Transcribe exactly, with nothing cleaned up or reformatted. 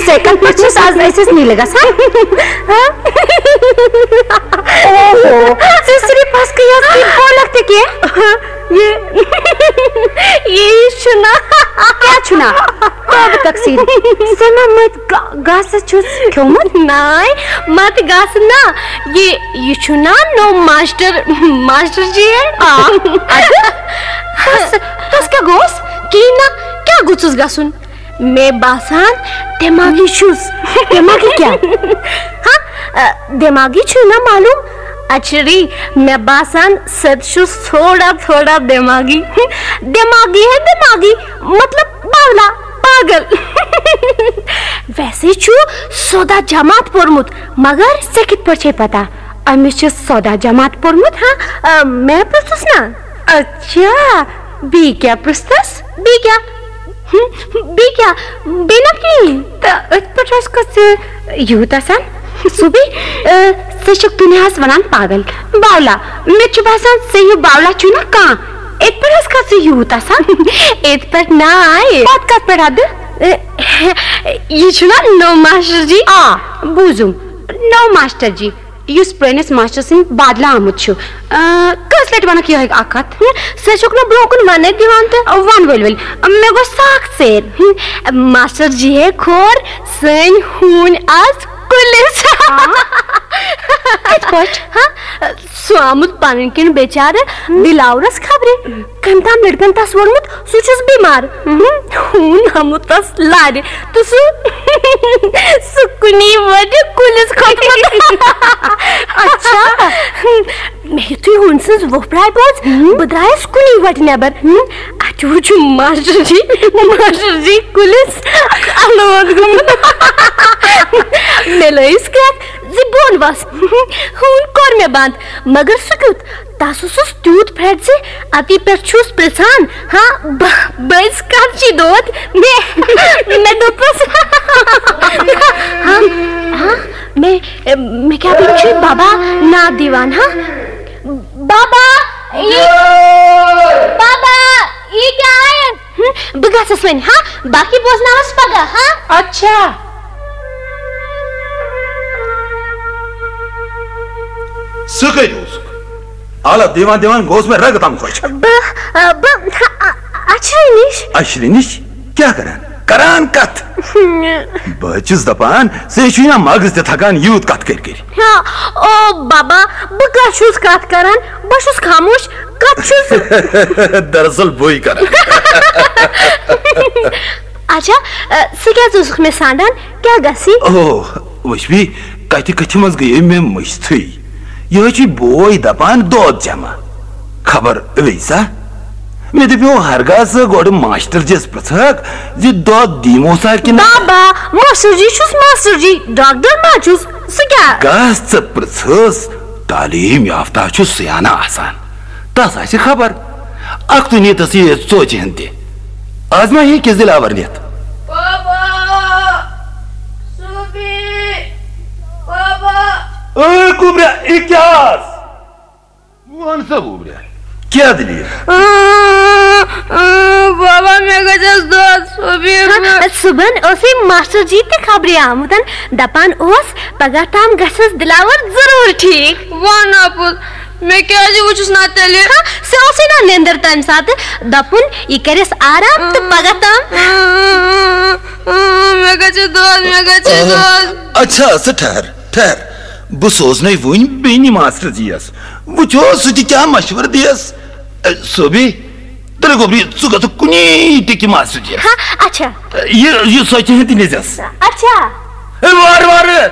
ژےٚ کتھ پٮ۪ٹھ چھُس از أسۍ ٲسۍ نیٖلہٕ گژھان؟ اوہو، ژٕ صرف پھسکہٕ یَس، ژٕ بولکھ تہِ کینٛہہ۔ یہِ، یہِ چھُنہ۔ کیٛاہ چھُنہ؟ توبہٕ تقصیر۔ ژےٚ ما مٔتۍ گا-، گاسہٕ چھُس کھیوٚمُت؟ ناے، مت گاسہٕ نہ۔ یہِ، یہِ چھُنہ نوٚو ماسٹر، ماسٹر جی ہے؟ آ، اَدٕ؟ تس، تس کیٛاہ گوٚوس؟ کِہیٖنۍ نہ۔ کیٛاہ گوٚژھُس گژھُن؟ مےٚ باسان دٮ۪ماغی چھُس۔ دٮ۪ماغی کیٛاہ؟ ہاں، ا، دٮ۪ماغی چھُے نہ معلوم؟ اچھری، مےٚ باسان سُہ تہِ چھُس تھوڑا تھوڑا دٮ۪ماغی۔ دٮ۪ماغی ہے دٮ۪ماغی، مطلب باولا، پاگل۔ ویسے چھُ سودا جماعت پوٚرمُت، مگر ژےٚ کِتھ پٲٹھۍ چھے پتہ؟ أمِس چھِ سودا جماعت پوٚرمُت۔ ہاں، ا، مےٚ پرٛژھُس نا۔ اچھا، بیٚیہِ کیٛاہ پرٛژھتس؟ بیٚیہِ کیٛاہ؟ ہم، بیٚیہِ کیٛاہ؟ بیٚیہِ نہ کِہیٖنۍ۔ تہٕ أتھۍ پٮ۪ٹھ حظ کھوٚت ژٕ یوٗت آسان۔ صوٗبی، ٲ، ژٕ چھُکھ دُنیاہَس وَنان پاگل۔ باولا، مےٚ چھُ باسان ژےٚ ہیوٗ باولا چھُے نہ کانٛہہ۔ أتھۍ پٮ۪ٹھ حظ کھوٚت ژٕ یوٗت آسان۔ أتھۍ پٮ۪ٹھ نہ آیہِ۔ پَتہٕ کَتھ پٮ۪ٹھ اَدٕ؟ ٲ، یہِ چھُنہ نوٚو ماسٹر جی؟ آ، بوٗزُم، نوٚو ماسٹر جی۔ یُس پرٲنِس ماسٹر سٕنٛدِ بدلہٕ آمُت چھُ۔ آ، کٔژ لٹہِ ونکھ یِہوٚے اکھ کتھ؟ ہم، سُہ چھُکھ نہٕ برونٛہہ کُن وننَے دِوان تہٕ۔ ون ؤلۍ ؤلۍ، مےٚ گوٚو سخ ژیر۔ ہم، ماسٹر جی ہے کھور سٲنۍ ہوٗنۍ از کُلِس۔ آ؟ کِتھ پٲٹھۍ؟ ہاں، سُہ آمُت پنٕنۍ کِنۍ بیچارٕ دِلاورس خبرِ۔ کٔمۍ تام لڑکن تس ووٚنمُت، سُہ چھُس بیمار۔ ہم، ہوٗن آمُت تس لارِ۔ تہٕ سُہ، سُہ کُنی وَٹہِ کُلِس کھوٚتمُت۔ اچھا۔ مےٚ یُتھُے ہوٗنۍ سٕنٛز وۄپھ راے بوٗز، ہم۔ بہٕ درٛایَس کُنی وَٹہِ نٮ۪بر۔ ہم۔ اَتہِ وُچھ ماسٹر جی، ماسٹر جی کُلِس الوند گوٚمُت۔ مےٚ لٲیِس کرٛٮ۪کھ زِ بۄن وَس۔ ہوٗن کوٚر مےٚ بنٛد، مگر سُہ کیُتھ؟ تس اوسُس تیوٗت پھرٛٹھ زِ اَتی پٮ۪ٹھ چھُس پرٛژھان، ہاں، بہٕ، بہٕ ٲسۍ کَمچی دود۔ مےٚ، مےٚ دوٚپُس، ہاں، ہاں، مےٚ، مےٚ کیٛاہ بیٚیہِ چھُ بابا ناد دِوان، ہاں؟ بابا، یہِ، بابا، یہِ کیٛاہ آیَن؟ ہم، بہٕ گژھس وۄنۍ، ہاں؟ باقٕے بوزناوس پگاہ، ہاں؟ اچھا۔ سُہ کتہِ اوسُکھ؟ حالت دِوان دِوان گوس مےٚ رگہٕ تام خۄش۔ بہٕ، آ، بہٕ، آ، اچھرِ نِش۔ اچھرِ نِش؟ کیٛاہ کران؟ کران کتھ؟ بہٕ حظ چھُس دپان، ژےٚ چھُے نا مغز تہِ تھکان یوٗت کتھ کٔرۍ کٔرۍ۔ ہاں، او بابا، بہٕ کتھ چھُس کتھ کران؟ بہٕ چھُس خاموش، کتھ چھُس؟ دراصل بٕے کران۔ اچھا، آ، ژٕ کیٛازِ اوسُکھ مےٚ سانڈان؟ کیٛاہ گژھِ؟ او، وٕچھ بی، کتھِ کتھِ منٛز گٔیے مےٚ مٔشتھٕے۔ یہِ حظ چھُے بوے دپان دۄد جمع۔ خبر ویسا؟ مےٚ دپیو ہرگاہ ژٕ گۄڈٕ ماسٹر جِس پرژھکھ زِ دۄد دیمو سا کِنہٕ۔ بابا، ماسٹر جی چھُس ماسٹر جی، ڈاکٹر ما چھُس؟ سُہ کیٛاہ؟ گژھ ژٕ پرژھس، تعلیٖم یافتہ چھُ سیانہٕ آسان۔ تس آسہِ خبر۔ اکھ تُہۍ نیٖتس یہِ ژوچہِ ہن تہِ۔ از ما ہیٚکہِ دِلاور نِتھ؟ بابا! سوٗبی! بابا! اے گوٚبریا، یہِ کیٛاہ آز؟ وَن سا گوٚبریا، کیٛاہ دٔلیٖل؟ اۭں، اۭں، بابا، مےٚ گژھٮ۪س دۄد، سوٗبی۔ ہا، صُبحن اوسُے ماسٹر جی تہِ خبرِ آمُت، دپان اوس، پگاہ تام گژھٮ۪س دِلاور ضروٗر ٹھیٖک۔ وَن اَپُز، مےٚ کیٛازِ وٕچھُس نہ تیٚلہِ؟ ہا، سُہ اوسُے نہ نیٚنٛدٕر تَمہِ ساتہٕ۔ دوٚپُن، یہِ کَرٮ۪س آرام تہٕ پگاہ تام۔ اۭں، اۭں، اۭں، مےٚ گژھِ دۄد، مےٚ گژھِ دۄد۔ اچھا، ژٕ ٹھہر، ٹھہر۔ بہٕ سوزنَے وٕنۍ بیٚنہِ ماسٹر جی یَس۔ وٕچھو، سُہ تہِ کیٛاہ مشورٕ دِیَس۔ اے، سوبی، تیٚلہِ گوٚبری، ژٕ گژھکھ کُنی ٹِکہِ ماسٹر جی یَس۔ ہا، اچھا۔ یہِ، یہِ سۄ کِہیٖنۍ تہِ نِزٮ۪س۔ اچھا۔ اے، وارٕ وارٕ۔